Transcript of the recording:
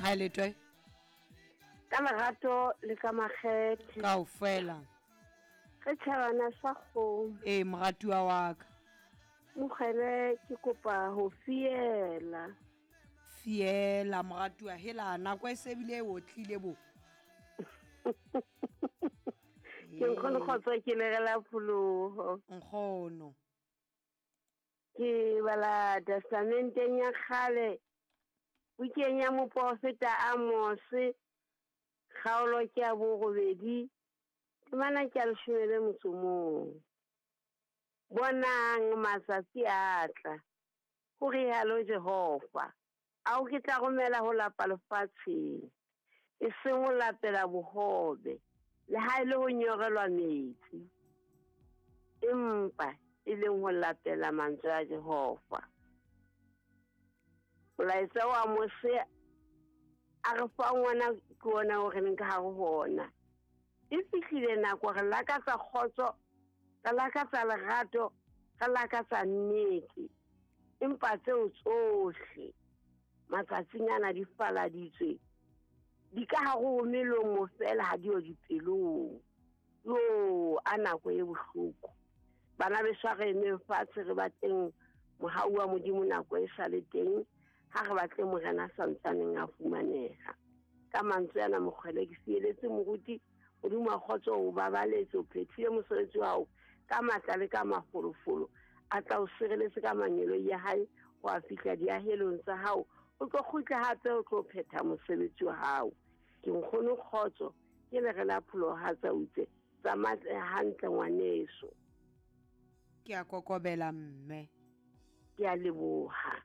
Ha e letwe. Ka lerato le ka makgethe. Kaofela. Re tjhabana sa kgomo. Ee, moratuwa wa ka. Mokgele ke kopa ho fiela. Fiela moratuwa hela nako e se bile e otlile bo. Ke nkgono kgotso ke lerela pholoho. Nkgono. Ke bala testamenteng ya kgale bukeng ya moprofeta Amose kgaolo ke ya borobedi temana ke ya leshome le motso mong. Bonang matsatsi a tla, ho rialo Jehova, ao ke tla romela ho lapa lefatsheng, e seng ho lapela bohobe, le ha e le ho nyorelwa metsi, empa e leng ho lapela mantswe a Jehova. Molaetsa wa Mose a re fang ona ke ona o re leng ka hare ho ona. E fihlile nako re lakatsa kgotso, re lakatsa lerato, re lakatsa nnete. Empa tseo tsohle matsatsing ana di faladitswe, di ka hare ho melomo fela ha di yo dipelong. Yo, a nako e bohloko. Bana beso a re emeng fatshe re batleng mohau wa Modimo nako e sa le teng, ha re batle Morena a santsaneng a fumaneha. Ka mantswe ana mokgwele ke sieletse moruti Modimo wa kgotso o babaletse, o phethile mosebetsi wa hao ka matla le ka mafolofolo, a tla o sireletse ka mangeloi ya hae ho a fihla diahelong tsa hao, o tlo kgutla hape o tlo phetha mosebetsi wa hao. Ke nkgono kgotso ke lere la pholoho ha tsa utse tsamaya hantle ngwaneso. Ke a kokobela mme. Ke a leboha.